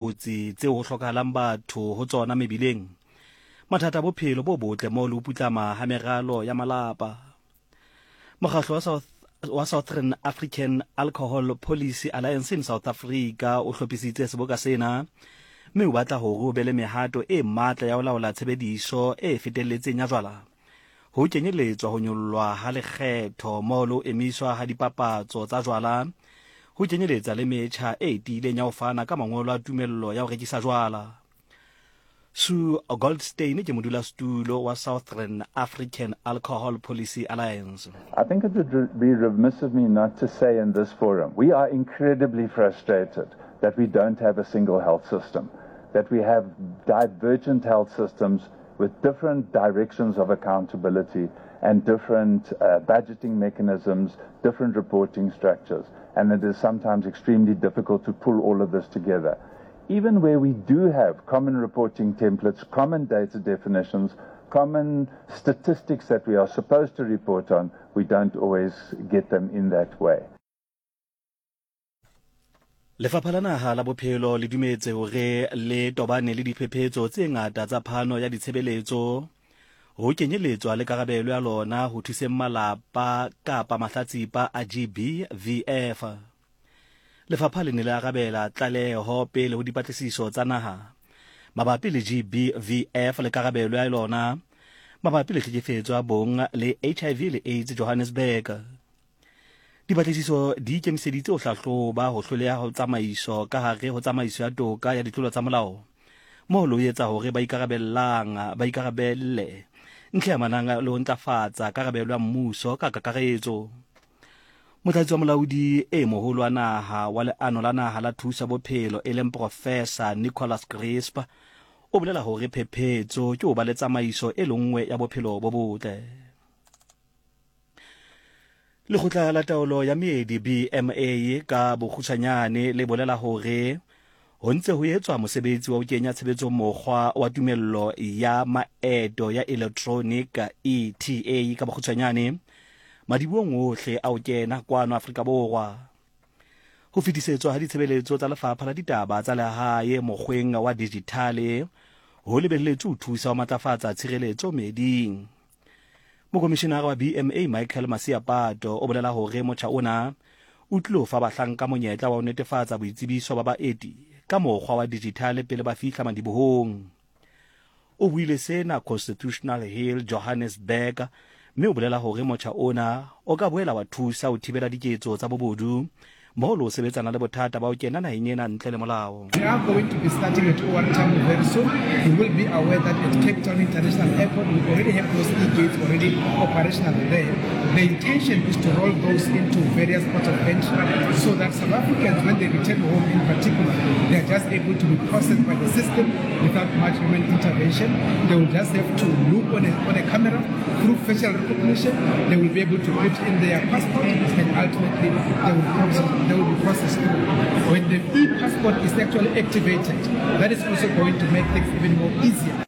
Kotsi tseo ho hlokahalang batho ho tsona mebileng, mathata a bophelo bo botle moo le ho putlama ha meralo ya malapa. Mokgahlo wa South wa Southern African Alcohol Policy Alliance in South Africa o hlophisitse seboka sena mme o batla hore o be le mehato e matla ya ho laola tshebediso e fetelletseng ya jwala. Ho kenyeletswa ho nyollwa ha lekgetho mmoho le ho emiswa ha dipapatso tsa jwala, ho kenyeletsa le metjha e tiileng ya ho fana ka mangolo a tumello ya ho rekisa jwala. Sue Goldstein ke modulasetulo wa Southern African Alcohol Policy Alliance. I think it would be remiss of me not to say in this forum, we are incredibly frustrated that we don't have a single health system, that we have divergent health systems with different directions of accountability and different uh, budgeting mechanisms, different reporting structures. And it is sometimes extremely difficult to pull all of this together. Even where we do have common reporting templates, common data definitions, common statistics that we are supposed to report on, we don't always get them in that way. Lefapha la Naha la Bophelo le dumetse hore le tobane le diphephetso tse ngata tsa phano ya ditshebeletso, ho kenyeletswa le karabelo ya lona ho thuseng malapa kapa mahlatsipa a GBVF. Lefapha le ne le arabela tlaleho pele ho dipatlisiso tsa naha mabapi le GBVF le karabelo ya lona mabapi le tlhekefetso ya bong le HIV le AIDS Johannesburg. Dipatlisiso di ikemiseditse ho hlahloba ho hloleha ho tsamaiso ka hare ho tsamaiso ya toka ya ditlolo tsa molao moo le ho etsa hore ba ikarabellang ba ikarabelle ntlha e amanang le ho ntlafatsa karabelo ya mmuso ka kakaretso. Motlatsi wa molaodi e moholo wa naha wa leano la naha la thuso ya bophelo e leng Professor Nicholas Crisp o bolela hore phephetso ke ho ba le tsamaiso e le nngwe ya bophelo bo botle. Lekgotla la Taolo ya Meedi, BMA, ka bokgutshwanyane le bolela hore ho ntse ho etswa mosebetsi wa ho kenya tshebetsong mokgwa wa tumello ya maeto ya electronic, ETA, ka bokgutshwanyane madibohong ohle a ho kena kwano Afrika Borwa. Ho fetisetswa ha ditshebeletso tsa Lefapha la Ditaba tsa Lehae mokgweng wa dijithale ho lebelletswe ho thusa ho matlafatsa tshireletso meeding. Mokomishinara wa BMA Michael Masiapato o bolela hore motjha ona o tlilo fa bahlanka monyetla wa ho netefatsa boitsebiso ba baeti ka mokgwa wa dijithale pele ba fihla madibohong. O buile sena Constitutional Hill, Johannesburg, mme o bolela hore motjha ona o ka boela wa thusa ho thibela diketso tsa bobodu mmoho le ho sebetsana le bothata ba ho kena naheng ena ntle le molao. We are going to be starting at OR Tambo very soon. You will be aware that at Cape Town International Airport, we already have those e-gates already operational there. The intention is to roll those into various ports of entry so that South Africans, when they return home in particular, they are just able to be processed by the system without much human intervention. They will just have to look on a, on a camera through facial recognition. They will be able to put in their passport and ultimately they will, process, they will be processed through. When the e-passport is actually activated, that is also going to make things even more easier.